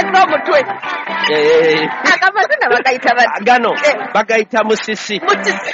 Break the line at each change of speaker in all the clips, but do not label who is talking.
Alese omutwe. Agamazina bagayita bati?
Gano bagayita musisi.
Musisi.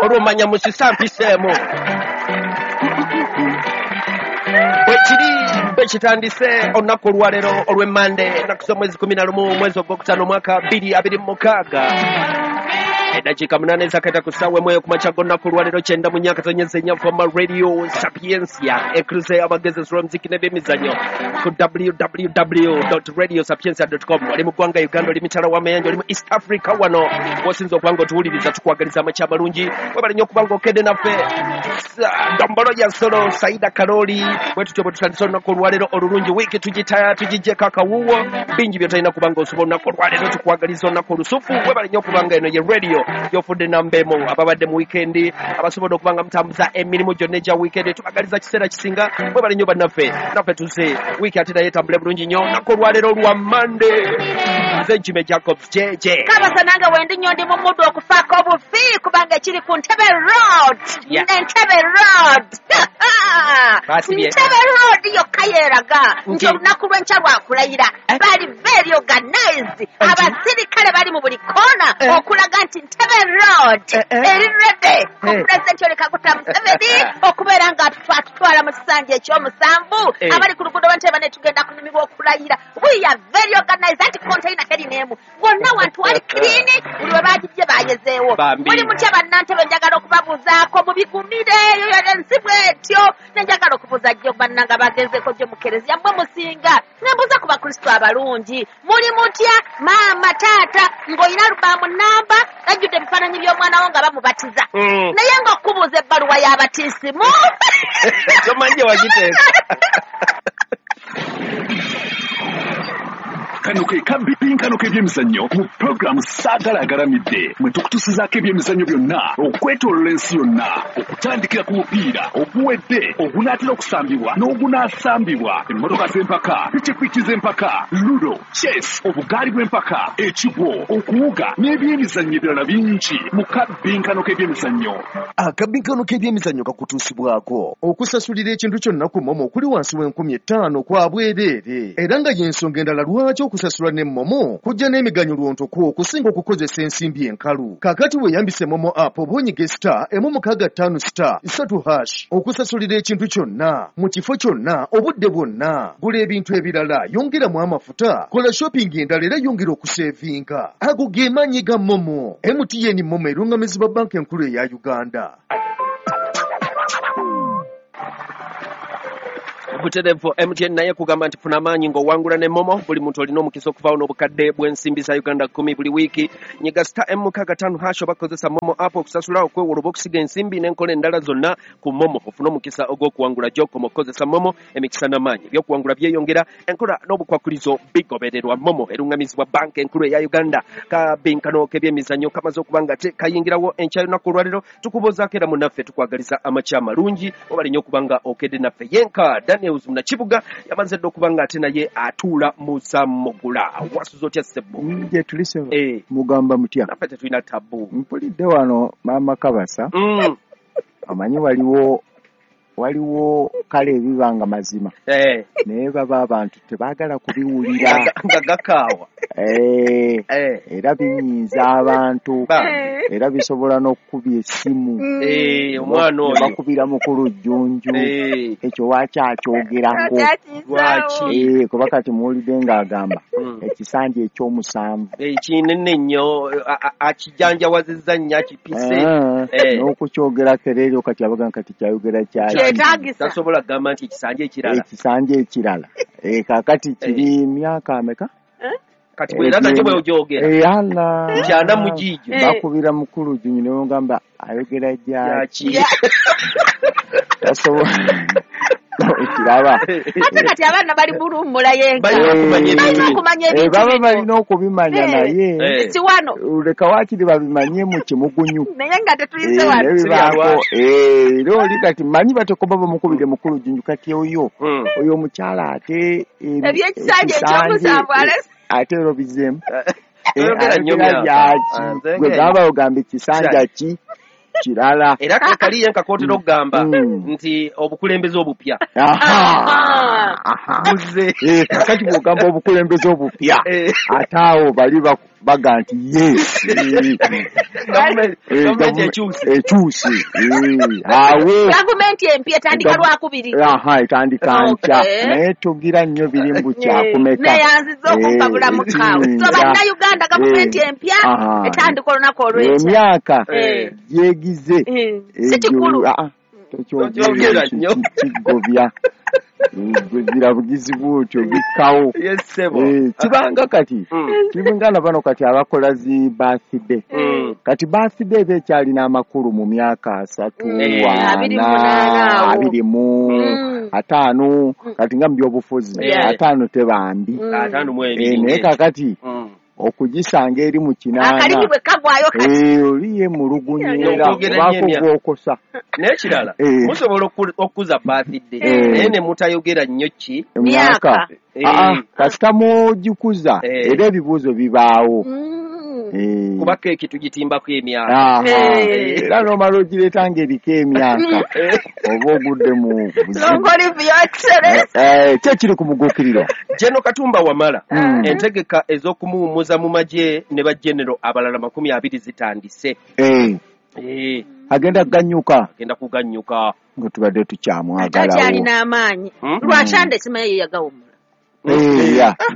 Olwo omanya musisi ampiseemu. Bwekiri bwekitandise olunaku olwaleero olw'emmande, ennaku z'omwezi 11 mwezi ogwokutaano omwaka 2026. Eddakiika 8 ezakaita ku ssaawa 1 ku makya g'olunaku olwaleero 94.4 Fama Radio Sapientia, ekruze abagezi lw'omuziki n'ebyemizannyo ku www.radiosapientia.com. Oli mu ggwanga Uganda, oli mitala w'amayanja, oli mu East Africa, wano w'osinza okuba nga otuwuliriza, tukwagaliza amakya amalungi. Webale nnyo okuba nga okedde naffe. Dombolo ya Nsolo, Saida Karoli, bwe tutyo bwe tutandise olunaku olwaleero olulungi. Wiiki tugiggyeko akawuwo, bingi by'otalina kuba nga osobola olunaku olwaleero. Tukwagaliza olunaku olusufu. Webale nnyo okuba nga eno ye radio yofudde namba emu. Ababadde mu wiikendi, abasobodde okuba nga mutambuza emirimu gyonna egya wiikendi, tubagaliza kiseera kisinga. Webale nnyo bannaffe, naffe tuze wiiki ate naye etambule bulungi nnyo. Olunaku olwaleero olwa Mande, nze Jimmy Jacobs JJ.
Kabasa nange wendi nnyo, ndi mu muddu okufaako obufi, kubanga ekiri ku Ntebe Road. Entebe Road, Ntebe Road yokka yeeraga nti olunaku lw'enkya lwakulayira. Bali very organized, abasirikale bali mu buli koona okulaga nti Ntebe Road eri ready ku Pulezidenti Yoweri Kaguta Museveni okubeera nga atutwala mu kisanja ekyomusanvu. Abali ku luguudo lw'Entebe ne tugenda kunyumirwa okulayira. We are very organized, anti container teri n'emu, wonna wantu wali clean, buli we bagijje bayezeewo. Muli mutya bannantebe? Njagala okubabuuzaako, mubigumire, eyo ensi bwetyo. Nenjagala okubuuza jjo bannanga bagenzeko jjo mu kereziya, mmwe musinga, nembuuza ku bakristo abalungi, muli mutya? Maama, taata, ng'olina alubaamu namba ejjudde ebifaananyi by'omwana wo nga bamubatiza, naye ng'okubuuza ebbaluwa y'abatisimu
tomanyi gye wagiteeka.
Kano ke kabipinkano k'ebyemizannyo mu pulogulaamu Saagala Agalamidde, mwe tukutusizaako ebyemizannyo byonna okwetoolola ensi yonna, okutandikira ku mupiira oguwedde, ogunaatera okusambibwa n'ogunaasambibwa, emmotoka z'empaka, pikipiki z'empaka, ludo, chess, obugaali bw'empaka, ekigwo, okuwuga n'ebyemizannyo ebirala bingi mu kabinkano k'ebyemizannyo.
Akabinkano k'ebyemizannyo kakutuusibwako okusasulira ekintu kyonna ku MoMo okuli wansi w'enkumi 5 kwa bwereere, era nga y'ensonga endala lwaki okusasula ne MoMo kujja n'emiganyulo ntoko okusinga okukozesa ensimbi enkalu. Kaakati weeyambise MoMo app oba onyige *165*3# okusasulira ekintu kyonna mu kifo kyonna, obudde bwonna. Gula ebintu ebirala, yongeramu amafuta, kola shopping endala era yongera okusevinga. Ago ge maanyi ga MoMo. MTN MoMo erungamizibwa Banka Enkulu eya Uganda.
Butereevu MTN naye kugamba nti funa amaanyi ng'owangula ne MoMo. Buli muntu olina omukisa okuvaawo n'obukadde bw'ensimbi za Uganda 10 buli wiiki. Nyiga *165# oba kozesa MoMo app okusasula, okwewola oba okusiga ensimbi n'enkola endala zonna ku MoMo, ofune omukisa ogw'okuwangula. Gy'okoma okukozesa MoMo, emikisa n'amaanyi ebyokuwangula byeyongera. Enkola n'obukwakulizo bigobererwa. MoMo erungamizibwa Banka Enkulu eya Uganda. Kabinkano k'ebyemizannyo kamaze okuba nga kayingirawo enkya y'olunaku olwaleero. Tukubuuzaako era munnaffe, tukwagaliza amakya amalungi. Obale nnyo okuba nga okedde naffe. Yenka Daniels Munakibuga yamaze dda okuba nga ate naye atuula musamugula. Wasuza otya, ssebo?
Gye tuli, ssebo. Mugamba mutya?
Naffe tetulina tabu.
Mpulidde wano maama Kabasa. Omanyi waliwo kale ebiba nga mazima, naye baba abantu tebaagala kubiwulira.
Nga gakaawa.
Era binyiiza abantu, era bisobola n'okukubya essimu.
Omwana oyo
bakubira mukulu Jjunju, ekyo waaki akyogerako?
Lwaki?
Kuba kati muwulidde ng'agamba ekisanja ekyomusanvu.
Kinene nnyo, akijanjawazizza nnyo, akipise.
N'okukyogerako era eryo kati abagamba kati kyayogera kyaki?
Tasobola kugamba nti ekisanja ekirala.
Ekisanja ekirala. Kaakati kiri myaka ameka?
Kati bwera nakyo bw'ogyogera.
Ala.
Nkyana mugiijo.
Bakubira mukulu Jjunju ne bamugamba ayogera gyaki? Tasobola ekiraba.
Ate kati abaana bali mulummula yenka.
Balina
okumanya ebintu.
Baba balina okubimanya, naye
si wano.
Leka waakiri babimanye mu kimugunyu.
Naye nga tetuyise wano.
Nebibaako era oli kati manyi batekoba bamukubire mukulu Jjunju kati oyo oyo omukyala ate
ebyekisanja ekyomusanvu alese.
Ate era obizeemu.
Toyogera nnyo myaka.
Gwe gamba ogamba ekisanja ki kirala.
Era kali yenka kootera okugamba nti obukulembeze obupya.
Kakati bw'ogamba obukulembeze obupya ate awo bali baga nti ye ekyuse awo
gavumenti empya etandika lwakubiri.
Etandika nkya naye tugira nnyo biri mbu kyakumeka
neyanziza okumpabula mukaawe. So bannayuganda gavumenti empya etandika olunaku olw'enkya
emyaka gyegize
si kikulu
tokyogera kigobya buzira bugizi bwotyo bikkawo. Kibanga kati kibanga na bano kati abakola zi birthday kati birthday eba ekyalina amakulu mu myaka 3, 4, 25 kati nga mu byobufuzi 5 tebambi naye kakati okugisanga eri mu 8
akalimi bwe kagwayo kati
oliye mulugunyera obaako gwokosa.
N'ekirala musobola okukuza birthday naye ne mutayogera nnyo ki
myaka kasita mugikuza era ebibuuzo bibaawo
kuba keeki tugitimbako emyaka
era n'omala ogireeta ng'eriko emyaka oba ogudde mu buzibu. Kye kiri ku muguukiriro.
General Katumba Wamala entegeka ez'okumuwummuza mu magye ne bagenero abalala 20 zitandise.
Agenda kuganyuka.
Agenda kuganyuka
nga tubadde tukyamwagalawo.
Akyalina amaanyi. Lwakyande simanyi ye yagawummula.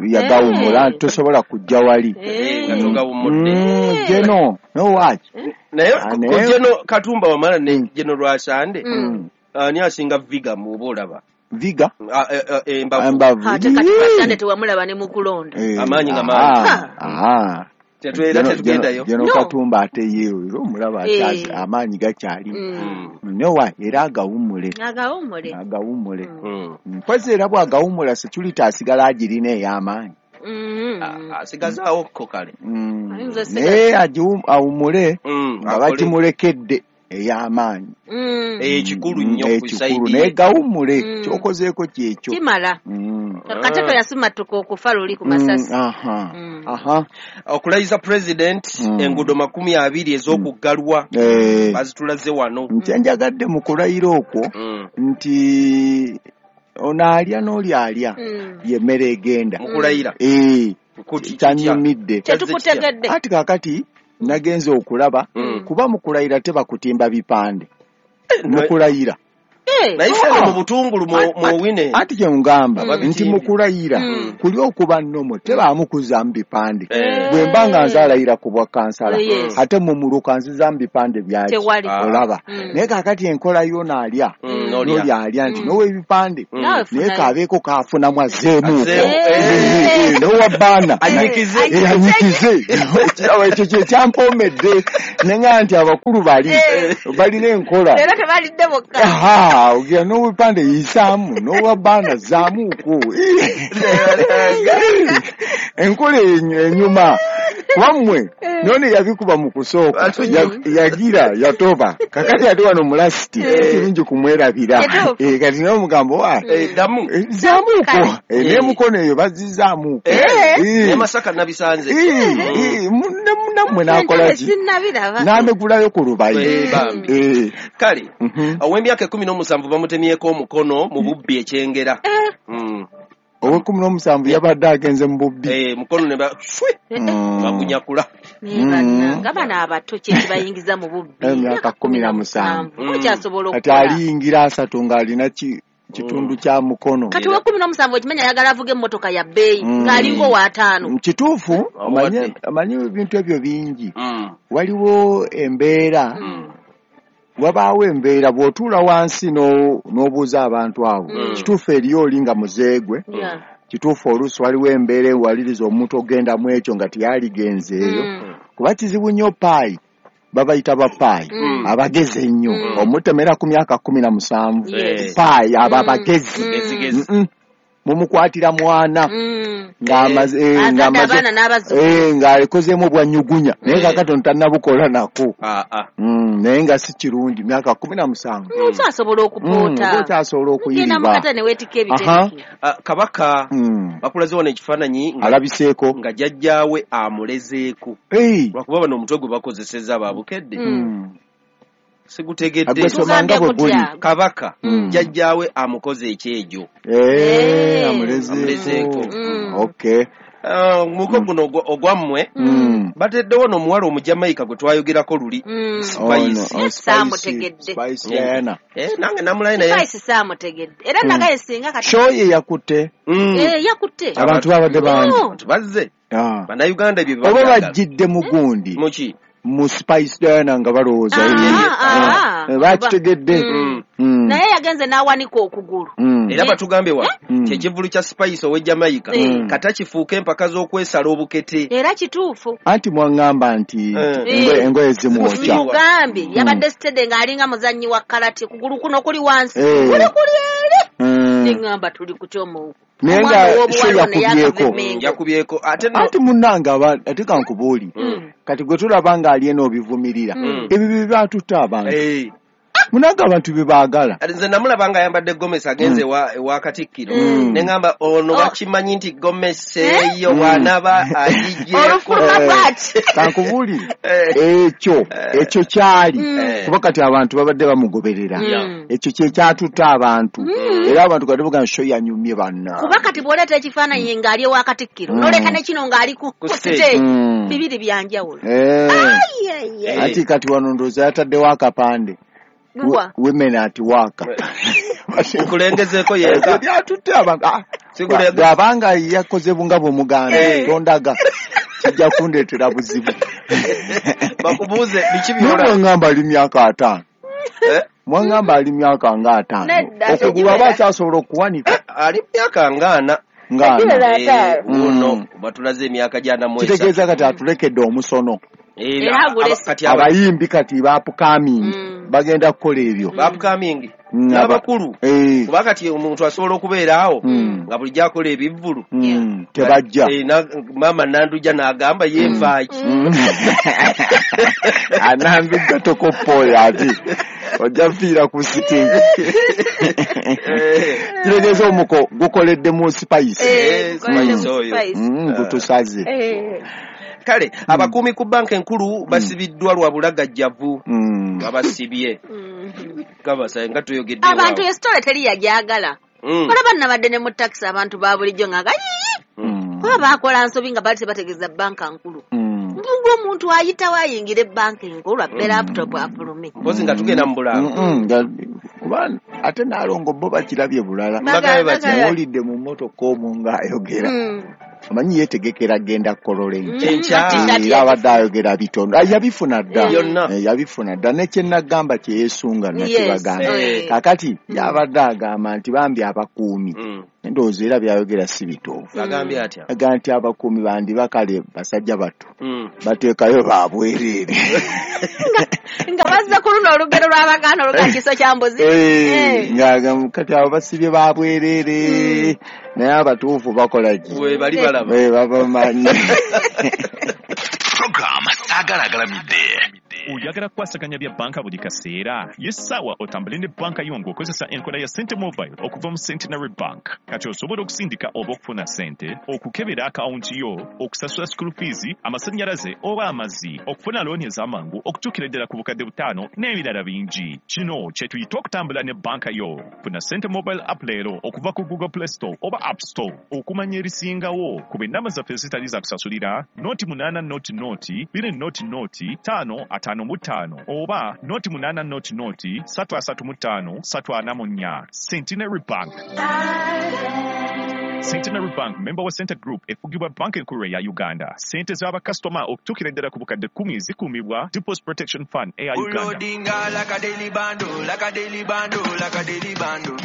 Yagawummula tosobola kujja wali. Geno nowaki
naye Geno Katumba Wamala ne Geno Lwasande ani asinga viga muba olaba
viga
embavu.
Ate kati Lwasande tewamulaba ne mukulonda
amaanyi nga mangi. Tetwera tetugendayo.
Geno Katumba ate ye era omulaba amaanyi gakyali nowa era agawummule. Agawummule mpozi era bw'agawummula security asigala agirina ey'amaanyi
asigazaawo ko kale
naye awummule nga bagimulekedde ey'amaanyi
ekikulu nnyo ku
ekikulu naye gawummule kyokozeeko kyekyo
kimala. Kateto yasimatuka okufa luli ku masasi.
Okulayiza president enguudo 20 ez'okuggalwa bazitulaze wano.
Nkyenjagadde mu kulayira okwo nti ono alya n'oli alya y'emmere egenda
mu kulayira
kyanyumidde
kyetukutegedde.
Ati kaakati nagenze okulaba kuba mu kulayira tebakutimba bipande mu kulayira
naye ffe mu butungulu muwine.
Ati kye ngamba nti mu kulayira kuli okuba nnomo tebamukuzaamu bipande. Bwe mba nga nzaalayira ku bwa kansala ate mu muluka nzizaamu bipande byaki olaba. Naye kaakati enkola y'ono alya n'oli alya nti n'ow'ebipande naye kabeeko kaafunamu azzeemuuko n'owa bbaana
anyikize.
Ekirabo ekyo kye kyampoomedde ne ŋŋamba nti abakulu bali balina enkola
era tebalidde bokka.
Ogira n'obupande yisaamu n'owa bbaana zaamuuko enkola enyuma wammwe none yabikuba mu kusooka yagira yatoba kakati ate wano mulasiti kirungi kumwerabira kati naye omugambo zaamuuko n'emukono eyo bazizaamuuko
ne Masaka nabisanze
nammwe n'akola ki n'amegulayo ku lubayi.
Kale ow'emyaka 17 bamutemyeko omukono mu bubbi ekyengera.
Owe-17 yabadde agenze mu bubbi
mukono ne bagunyakula.
Nga bano abato kye kibayingiza mu bubbi
emyaka 17
okyasobola
kati aliyingira 3 ng'alina kitundu kya mukono.
Kati owe-17 okimanya ayagala avuge emmotoka ya bbeeyi ng'alinga owa-5.
Kituufu amanyi ebintu ebyo bingi. Waliwo embeera wabaawo embeera bw'otuula wansi n'obuuza abantu abo kituufu eriyo oli nga muzeegwe kituufu oluusi waliwo embeera ewaliriza omuntu ogenda mu ekyo nga teyaligenzeeyo kuba kizibu nnyo paayi babayita bapaayi abagezi ennyo omutemera ku myaka 17 paayi abo abagezi mumukwatira mwana ng'akozeemu bwanyugunya naye kaakati ono tannabukola nako naye nga si kirungi myaka 17
okyasobola okupoota
okyasobola okuyiriba.
Kabaka bakulaze wano ekifaananyi
alabiseeko
nga jjajjaawe amulezeeko lwakuba bano omutwe gwe bakozesezza babukedde. Sigutegedde.
Somanga bwe guli.
Kabaka jjajjaawe amukoze ekyejo.
Amulezeeko. Okay.
Muko guno ogwammwe bateddewo n'omuwala Omujamaika gwe twayogerako luli. Spice.
Saamutegedde.
Spice Diana.
Nange namulayi naye.
Spice saamutegedde. Era nagaye singa kati.
Show ye yakutte.
Yakutte.
Abantu babadde bangi.
Abantu bazze. Bannayuganda ebyo
oba bajjidde mu gundi.
Muki?
Mu Spice Diana nga balowooza. Bakitegedde.
Naye yagenze n'awanika okugulu.
Era batugambye wa kyekivulu kya Spice ow'e Jamaica kata kifuuke empaka z'okwesala obukete.
Era kituufu.
Anti mwaŋŋamba nti engoye zimwokya.
Mugambye yabadde sitede ng'alinga muzannyi wa karate, kugulu kuno kuli wansi. Kuli kuli eri. Neŋŋamba tuli ku kyomu.
Naye nga show yakubyeko.
Yakubyeko.
Ate munnange ate kankubuulire. Kati gwe tulaba ng'ali eno obivumirira. Ebyo bye byatutte abantu. Munange abantu bye baagala.
Nze namulaba nga ayambadde gomesi agenze ewa Katikkiro. Ne ŋŋamba ono bakimanyi nti gomesi eyo bw'anaaba agigyeko.
Kankubuulire. Ekyo kyali. Kuba kati abantu babadde bamugoberera. Ekyo kye kyatutte abantu. Era abantu kati bagamba show yanyumye banna.
Kuba kati bw'oleeta ekifaananyi ng'ali ewa Katikkiro n'oleka ne kino ng'ali ku stage bibiri bya njawulo.
Ati kati wano ndowooza yataddewo akapande. Women at work.
Nkulengezeeko yenka.
Byatutte abantu. Bw'abanga yakoze bunga bw'omuganda tondaga kijja kundeetera buzibu.
Bakubuuze biki by'olaba.
Mwaŋŋamba ali myaka 50. Mwaŋŋamba ali myaka nga 50. Okugulu aba akyasobola okuwanika.
Ali myaka nga 40. Nga 40. Batulaze emyaka gya 43.
Kitegeeza kati atulekedde omusono. Abayimbi kati bapukamingi bagenda kukola ebyo.
Bapukamingi n'abakulu. Kuba kati omuntu asobola okubeera awo nga bulijjo akola ebivvulu.
Tebajja.
Maama Nandujja n'agamba yenfaaki.
Anandujja tokopooyo ati ojja kufiira ku sitingi. Kitegeeza omuko gukoledde mu Spice.
Spice oyo.
Gutusaze.
Kale abakuumi ku banka enkulu basibiddwa lwa bulagajjavu. Babasibye. Kabasa nga tuyogedde.
Abantu esitole teri yagyagala. Olaba nabadde ne mu taxi abantu ba bulijjo nga kuba baakola nsobi nga baali tebategeeza banka nkulu. Mbuga omuntu ayitawo ayingira ebbanka enkulu abbe laptop afulume.
Mpozi nga tugenda mu bulango.
Kuba ate Naalongo bo bakirabye bulala. Muwulidde mu mmotoka omwo ng'ayogera. Amanyi yeetegekera genda Kololo enkya. Era abadde ayogera bitono. Yabifuna dda. Yabifuna dda. Ne kye nagamba kye yeesunga nakibagamba. Kaakati yabadde agamba nti bambi abakuumi. Endowooza era byayogera si bituufu.
Agambye atya?
Agamba nti abakuumi bandiba kale basajja bato. Bateekayo baabwereere.
Nga bazza ku luno olugero lw'Abaganda oluga kiso kya mbuzi.
Nga kati abo basibye baabwereere. Naye abatuufu bakola ki?
We bali balaba.
Babamanyi.
Program Saagala Agalamidde.
Oyagala kukwasaganya bya banka buli kaseera. Ye ssaawa otambule ne banka yo ng'okozesa enkola ya Sente Mobile okuva mu Centenary Bank. Kati osobola okusindika oba okufuna ssente, okukebera akawunti yo, okusasula school fees, amasannyalaze oba amazzi, okufuna looni ez'amangu okutuukira ddala ku bukadde 5 n'ebirala bingi. Kino kye tuyita okutambula ne banka yo. Funa Sente Mobile app leero okuva ku Google Play Store oba App Store. Okumanya ebisingawo ku ennamba zaffe ezitali za kusasulira 08 00 200 5 55 oba 08 00 335 344. Centenary Bank. Centenary Bank, member wa Center Group, efugibwa banka enkulu ya Uganda. Sente z'abakasitoma okutuukira ddala ku bukadde 10 zikuumibwa Deposit Protection Fund eya Uganda.
Like a daily bundle, like a daily bundle, like a daily bundle.